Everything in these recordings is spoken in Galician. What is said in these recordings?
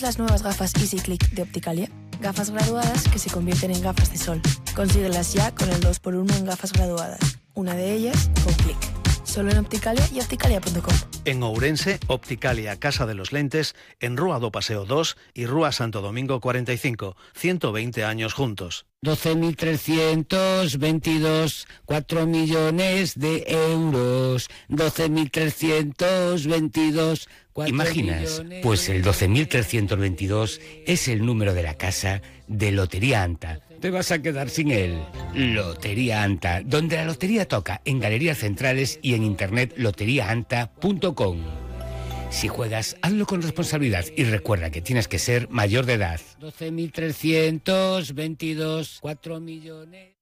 Las nuevas gafas EasyClick de Opticalia, gafas graduadas que se convierten en gafas de sol. Consíguelas ya con el 2x1 en gafas graduadas. Una de ellas con clic. Solo en Opticalia y opticalia.com. En Ourense, Opticalia Casa de los Lentes, en Rúa do Paseo 2 y Rúa Santo Domingo 45. 120 años juntos. 12.322, 4 millones de euros. 12.322, 4 ¿Imaginas? millones... Pues el 12.322 es el número de la casa de Lotería Anta. Te vas a quedar sin él. Lotería Anta, donde la lotería toca, en galerías centrales y en internet loteriaanta.com. Si juegas, hazlo con responsabilidad y recuerda que tienes que ser mayor de edad. 12.322, 4 millones...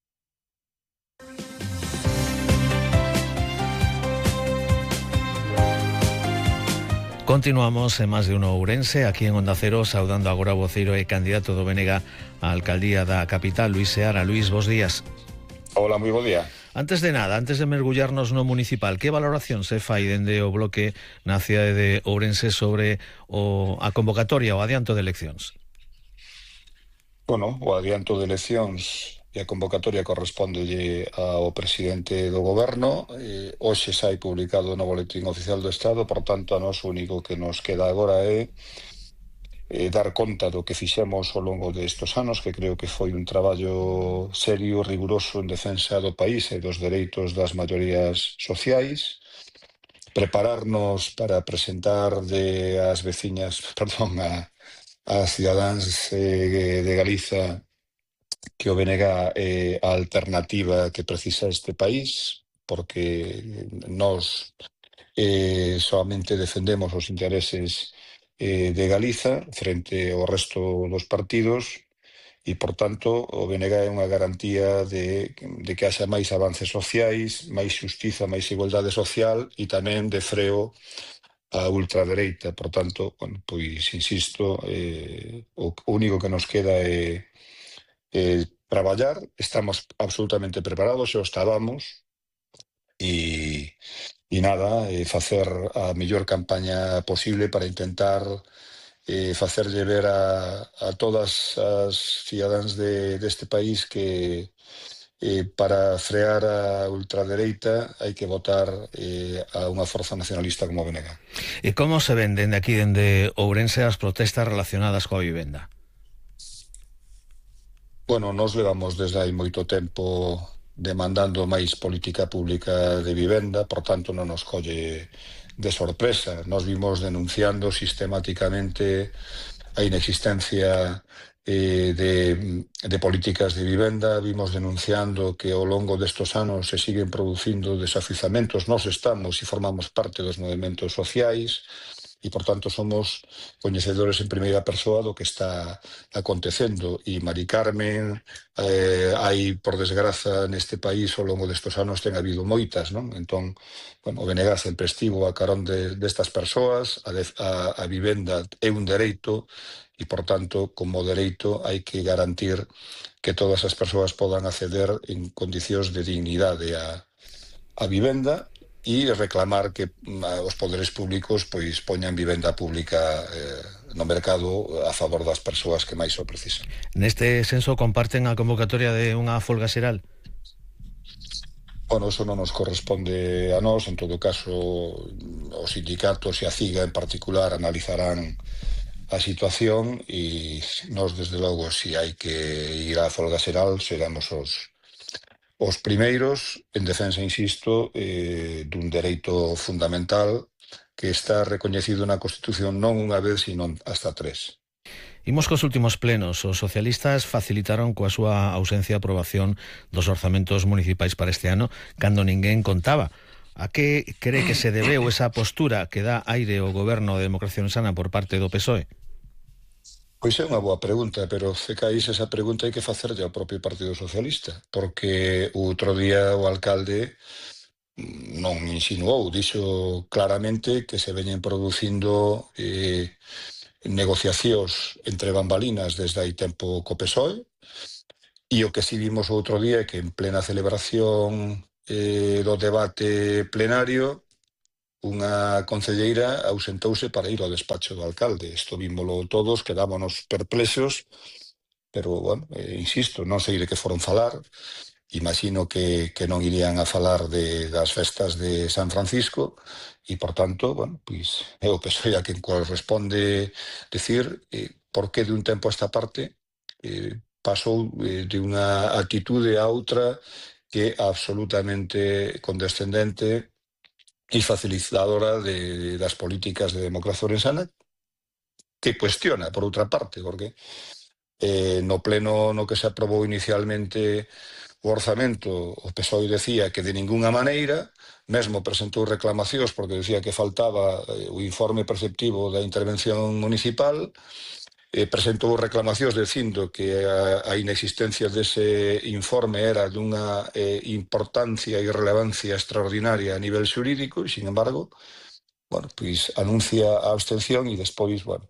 Continuamos en Más de Uno Ourense, aquí en Onda Cero, saudando agora o voceiro e candidato do BNG á alcaldía da capital, Luís Seara. Luís, bos días. Hola, moi bo día. Antes de nada, antes de mergullarnos no municipal, que valoración se fai dende o bloque na cidade de Ourense sobre a convocatoria, o adianto de eleccións? Bueno, o adianto de eleccións e a convocatoria correspóndelle ao presidente do goberno. Hoxe sai publicado no Boletín Oficial do Estado, por tanto, a nós o único que nos queda agora é dar conta do que fixemos ao longo destes anos, que creo que foi un traballo serio, riguroso en defensa do país e dos dereitos das maiorías sociais, prepararnos para presentar ás veciñas, perdón, ás cidadáns de Galiza que o BNG é a alternativa que precisa este país, porque nós solamente defendemos os intereses de Galiza frente ao resto dos partidos e, por tanto, o BNG é unha garantía de que haxa máis avances sociais, máis xustiza, máis igualdade social e tamén de freo a ultradereita. Por tanto, bueno, pois, insisto, o único que nos queda é traballar. Estamos absolutamente preparados, xa o estábamos, e nada, facer a mellor campaña posible para intentar facerlle ver a todas as cidadáns deste país que para frear a ultradereita hai que votar a unha forza nacionalista como a BNG. E como se ven dende aquí, dende Ourense, as protestas relacionadas coa vivenda? Bueno, nos levamos desde hai moito tempo demandando máis política pública de vivenda, por tanto non nos colle de sorpresa. Nos vimos denunciando sistemáticamente a inexistencia de políticas de vivenda, vimos denunciando que ao longo destes anos se siguen producindo desafiuzamentos. Nós estamos e formamos parte dos movementos sociais e, por tanto, somos coñecedores en primeira persoa do que está acontecendo. E Mari Carmen, hai, por desgraza, neste país ao longo destes anos ten habido moitas, non? Entón, bueno, o BNG sempre estivo a carón destas persoas, a vivenda é un dereito e, por tanto, como dereito hai que garantir que todas as persoas podan acceder en condicións de dignidade a vivenda e reclamar que os poderes públicos pois poñan vivenda pública no mercado a favor das persoas que máis o precisan. Neste senso, comparten a convocatoria de unha folga xeral? Bueno, eso non nos corresponde a nós. En todo caso, os sindicatos e a CIGA en particular analizarán a situación e nós, desde logo, se hai que ir á folga xeral, seremos os primeiros en defensa, insisto, dun dereito fundamental que está recoñecido na Constitución non unha vez, sino hasta 3. Imos cos últimos plenos. Os socialistas facilitaron coa súa ausencia a aprobación dos orzamentos municipais para este ano cando ninguén contaba. A que cree que se debeu esa postura que dá aire ao goberno de Democracia Sana por parte do PSOE? Pois é unha boa pregunta, pero se caís esa pregunta hai que facerlle ao propio Partido Socialista, porque o outro día o alcalde non insinuou, dixo claramente que se veñen producindo negociacións entre bambalinas desde hai tempo co PSOE, e o que si vimos o outro día é que en plena celebración do debate plenario unha concelleira ausentouse para ir ao despacho do alcalde. Isto vímolo todos, quedámonos perplexos, pero, bueno, insisto, non sei de que foron falar. Imagino que non irían a falar das festas de San Francisco e, por tanto, bueno, pois é o PSOE a quen corresponde decir por que de un tempo a esta parte pasou de unha actitude a outra que é absolutamente condescendente e facilitadora das políticas de democracia orensana, que cuestiona, por outra parte, porque no pleno no que se aprobou inicialmente o orzamento, o PSOE decía que de ningunha maneira, mesmo presentou reclamacións porque decía que faltaba o informe perceptivo da intervención municipal, presentou reclamacións dicindo que a inexistencia dese informe era dunha importancia e relevancia extraordinaria a nivel xurídico e, sin embargo, bueno, pois anuncia a abstención e despois, bueno,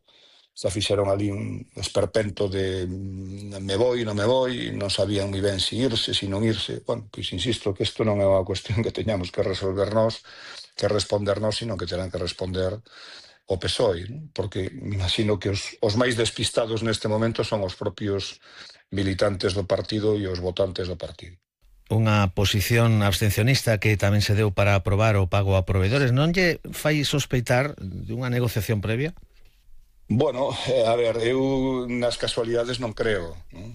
se fixeron ali un esperpento de me voi, non sabían moi ben se irse, se non irse. Bueno, pois insisto que isto non é unha cuestión que teñamos que resolver nós, que responder nós, sino que terán que responder o PSOE, ¿no? Porque me imagino que os máis despistados neste momento son os propios militantes do partido e os votantes do partido. Unha posición abstencionista que tamén se deu para aprobar o pago a proveedores. Non lle fai sospeitar dunha negociación previa? Bueno, a ver, eu nas casualidades non creo, non?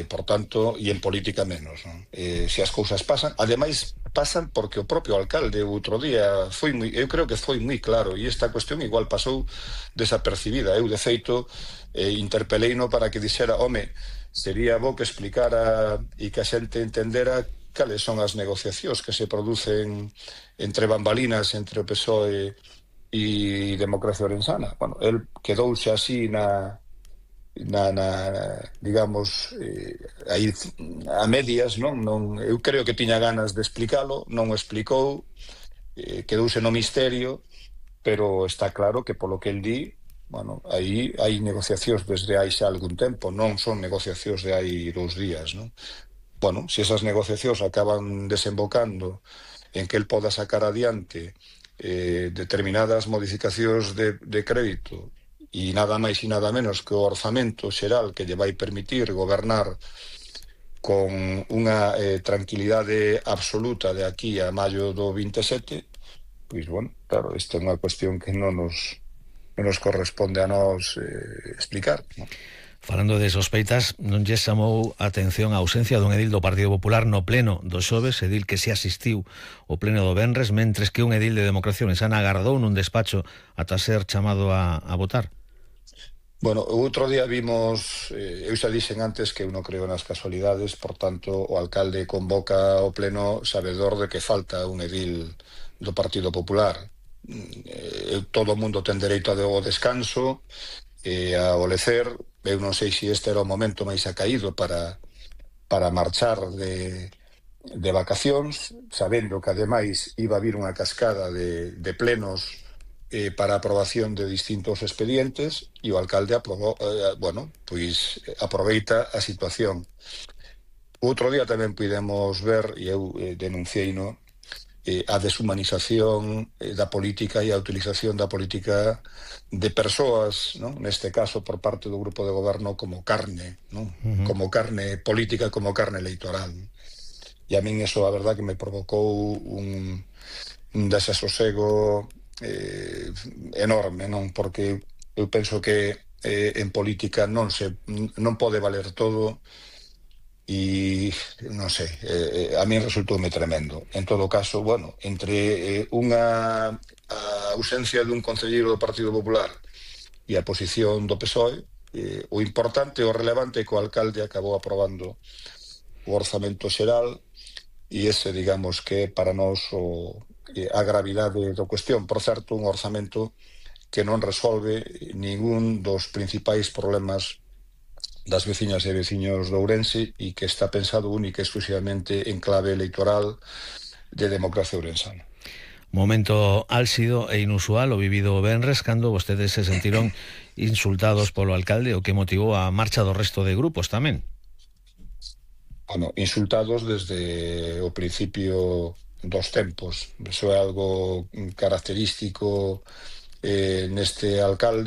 Por tanto, e en política menos, non? Se as cousas pasan, ademais pasan porque o propio alcalde outro día eu creo que foi moi claro, e esta cuestión igual pasou desapercibida. Eu, de feito, interpeleino para que dixera, home, sería bo que explicara e que a xente entendera cales son as negociacións que se producen entre bambalinas, entre o PSOE e Democracia Orensana. Bueno, el quedouse así digamos, aí a medias, non? Eu creo que tiña ganas de explicalo, non o explicou, quedouse no misterio, pero está claro que polo que el di, bueno, aí hai negociacións desde hai xa algún tempo, non son negociacións de hai 2 días, non? Bueno, se esas negociacións acaban desembocando en que el poda sacar adiante determinadas modificacións de crédito e nada máis e nada menos que o orzamento xeral que lle vai permitir gobernar con unha tranquilidade absoluta de aquí a maio do 27, pois, bueno, claro, esta é unha cuestión que non nos corresponde a nós explicar, non? Falando de sospeitas, non lle chamou a atención a ausencia dun edil do Partido Popular no pleno do xoves, edil que se asistiu ao pleno do venres, mentres que un edil de Democracia Orensana agardou nun despacho ata ser chamado a votar. Bueno, outro día vimos, eu xa dixen antes que eu non creo nas casualidades, por tanto, o alcalde convoca ao pleno sabedor de que falta un edil do Partido Popular. Todo o mundo ten dereito ao descanso e a olecer. Eu non sei se este era o momento máis acaído para marchar de vacacións, sabendo que ademais iba a vir unha cascada de plenos para aprobación de distintos expedientes, e o alcalde aproveita a situación. Outro día tamén pudemos ver, e eu denuncieino, a deshumanización da política e a utilización da política de persoas, non? Neste caso por parte do grupo de goberno como carne, non? Como carne política, como carne electoral. E a min eso, a verdad, que me provocou un desasosego enorme, non? Porque eu penso que en política non pode valer todo. E non sei, a mí resultoume tremendo. En todo caso, bueno, entre unha ausencia dun concelleiro do Partido Popular e a posición do PSOE, o importante, o relevante é que o alcalde acabou aprobando o orzamento xeral, e ese, digamos, que é para nós a gravidade da cuestión. Por certo, un orzamento que non resolve ningún dos principais problemas das veciñas e veciños de Ourense e que está pensado única e exclusivamente en clave electoral de Democracia Orensana. Momento álxido e inusual o vivido o venres cando vostedes se sentiron insultados polo alcalde, o que motivou a marcha do resto de grupos tamén. Bueno, insultados desde o principio dos tempos. Eso é algo característico neste alcalde.